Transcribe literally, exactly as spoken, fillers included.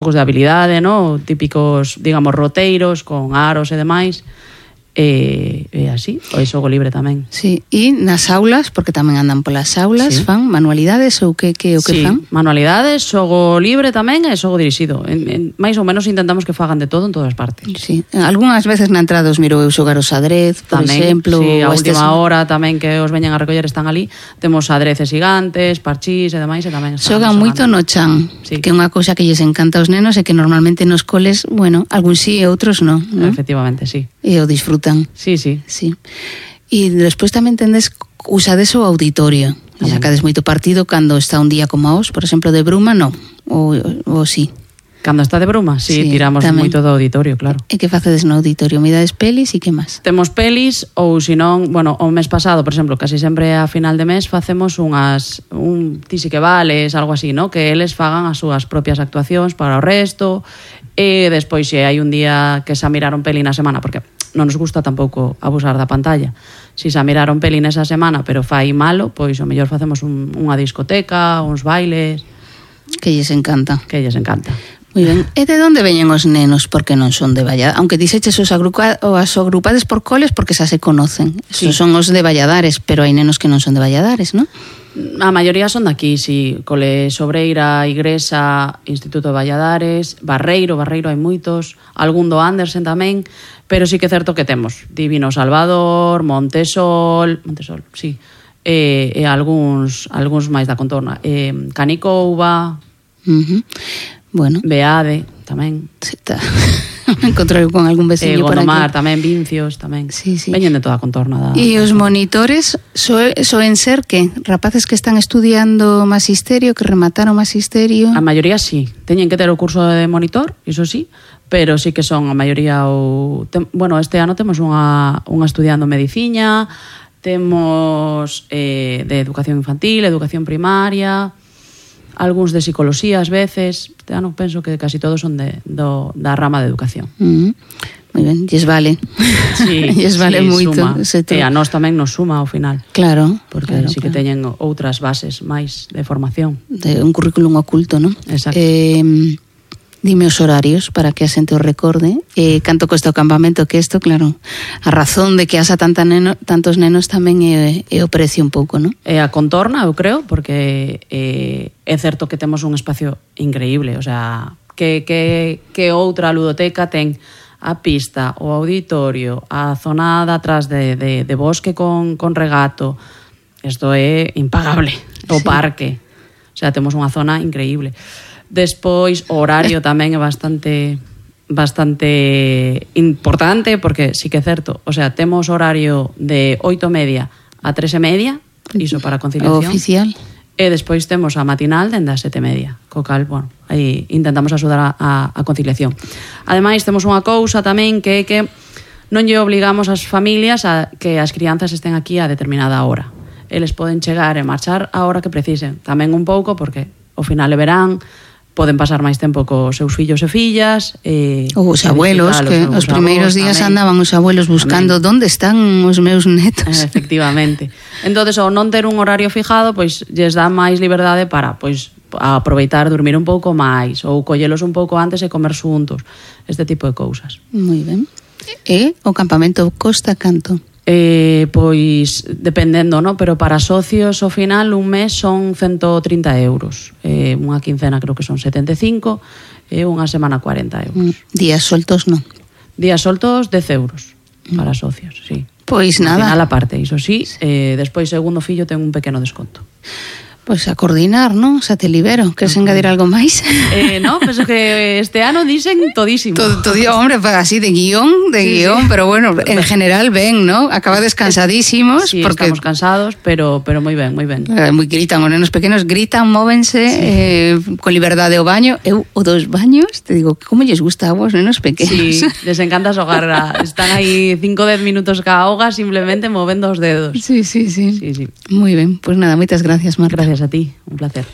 xogos de habilidade, no? Típicos, digamos, roteiros con aros e demais. E, e así, o xogo libre tamén. Sí, e nas aulas, porque tamén andan polas aulas, sí. Fan manualidades ou que, que o que sí, fan? Manualidades, xogo libre tamén e xogo dirixido. En, en, máis ou menos intentamos que fagan de todo en todas partes. Sí, algunhas veces na entrada os miro eu xogar o xadrez, por tamén, exemplo. Sí, a última estes... hora tamén que os veñan a recoller están ali. Temos xadreces gigantes, parchís e demais e tamén están xogan moito no chan, sí. Que é unha cousa que lles encanta aos nenos e que normalmente nos coles, bueno, algúns sí e outros non, non? Efectivamente, sí. E o disfrutan. Sí, sí. Sí. E despois tamén tendes usades o auditorio. E sacades moito partido cando está un día como hoxe, por exemplo, de bruma, non? Ou, ou sí. Cando está de bruma, sí, sí tiramos tamén moito do auditorio, claro. E que facedes no auditorio? Mirades pelis e que máis? Temos pelis ou senón, bueno, o mes pasado, por exemplo, casi sempre a final de mes facemos unhas un ti si que vales, algo así, ¿no? Que eles fagan as súas propias actuacións para o resto e despois se hai un día que xa miraron peli na semana, porque non nos gusta tampouco abusar da pantalla. Si xa miraron peli nesa semana, pero fai malo, pois o mellor facemos un, unha discoteca, uns bailes. Que lles encanta. Que lles encanta. Moi ben. E de onde veñen os nenos? Porque non son de Valladares. Aunque dixeches os, agrupa, os agrupades por coles porque xa se conocen. Sí. Son os de Valladares, pero hai nenos que non son de Valladares, non? A maioría son daqui, sí. Cole Sobreira, Igresa, Instituto de Valladares, Barreiro, Barreiro hai moitos, algún do Andersen tamén, pero sí que é certo que temos Divino Salvador, Montesol, Montesol, sí, e, e algúns, algúns máis da contorna, e, Canicouba, uh-huh. Bueno. Beade, tamén. Sí, está. Me encontrei con algún veciño eh, por aquí. Gondomar tamén, Vincios tamén. Sí, sí. Veñen de toda a contorna. Da, e os monitores soen so ser que rapaces que están estudiando magisterio, que remataron magisterio. A maioría sí, teñen que ter o curso de monitor, iso sí, pero sí que son a maioría o... Tem, bueno, este ano temos unha, unha estudiando mediciña, temos eh, de educación infantil, educación primaria, algúns de psicoloxía ás veces. Este ano penso que casi todos son de, do, da rama de educación. Uh-huh. Moi ben, lles vale. Sí, lles vale sí, moito. E a nós tamén nos suma ao final. Claro. Porque claro, sí que claro. teñen outras bases máis de formación. De un currículum oculto, non? Exacto. Eh, dime os horarios para que a xente o recorde. Eh, canto cuesta o campamento, que isto, claro, a razón de que asa tanta neno, tantos nenos tamén é, é o precio un pouco, non? É a contorna, eu creo, porque eh, é certo que temos un espacio increíble, o sea, que, que, que outra ludoteca ten a pista, o auditorio, a zona de atrás de, de, de bosque con, con regato. Isto é impagable. O sí. Parque. O sea, temos unha zona increíble. Despois, o horario tamén é bastante bastante importante, porque sí que é certo, o sea, temos horario de oito e media a tres e media, iso para conciliación. O oficial. E despois temos a matinal dende as sete e media, co cal, bueno, aí intentamos axudar a, a, a conciliación. Ademais, temos unha cousa tamén que é que non lle obligamos as familias a que as crianzas estén aquí a determinada hora. Eles poden chegar e marchar a hora que precisen. Tamén un pouco, porque ao final de verán poden pasar máis tempo cos seus fillos e fillas. E, ou os abuelos, que os, os primeiros días tamén andaban os abuelos buscando tamén. Onde están os meus netos. Efectivamente. Entonces, ao non ter un horario fijado, pois lles dá máis liberdade para pois aproveitar, dormir un pouco máis, ou collelos un pouco antes e comer xuntos. Este tipo de cousas. Moi ben. E o campamento costa canto? Eh, pois dependendo, no? Pero para socios ao final un mes son ciento trinta euros, eh, unha quincena creo que son setenta e cinco e unha semana cuarenta euros. Días soltos non? Días soltos dez euros para socios, sí. Pois nada. Al final a parte, iso sí, eh, despois segundo fillo ten un pequeno desconto. Pois a coordinar, non? Xa te libero. Queres uh-huh. engadir algo máis? Eh, no, penso que este ano dicen todísimo. Todo, todo, hombre, pues así de guión, de sí, guión, sí. Pero bueno, en general ben, ¿no? Acaba descansadísimos. Sí, porque estamos cansados, pero pero moi ben, moi ben. Eh, moi gritan, os nenos pequenos gritan, móvense, sí. eh, con liberdade ao baño. Eu, o dos baños, te digo, como lles gusta a vos, nenos pequenos? Sí, les encanta xogar. Están aí cinco a dez minutos ca auga simplemente movendo os dedos. Sí, sí, sí. sí, sí. Moi ben, pues nada, moitas gracias, Marta. Gracias a ti, un placer.